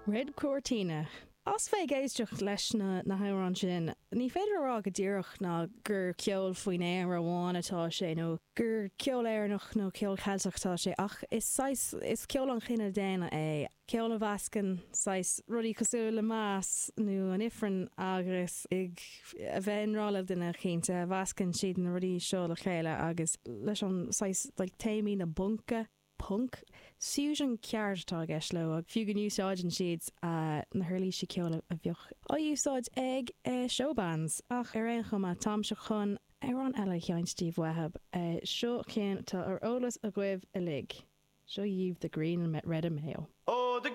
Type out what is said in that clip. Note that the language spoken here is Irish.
Red Cortina. As bheith ag éisteacht leis na na hamhráin sin, ní féidir a rá go díreach ná gur ceol faoin Éire amháin atá sé nó gur ceol Éireannach nó ceol Ceilteach atá sé ach is saghas, is ceol an chine daonna é, ceol a mheascann saghas rudaí cosúil le Mass nó an Ifreann agus ag a bheith i ngrá le duine cinnte, a mheascann siad na rudaí seo le chéile agus leis an saghas like téamaí na bpunca. punc. Fusion ceart atá i gceist leo, fiú go n-úsáideann siad na huirlísí ceoil a bheadh á úsáid ag showbands. Ach ar aon chuma, táimse chun amhrán eile a sheinnt daoibh uathu. Seo ceann atá ar eolas agaibh uilig. Seo dhaoibh The Green, Red and Mayo. Ó!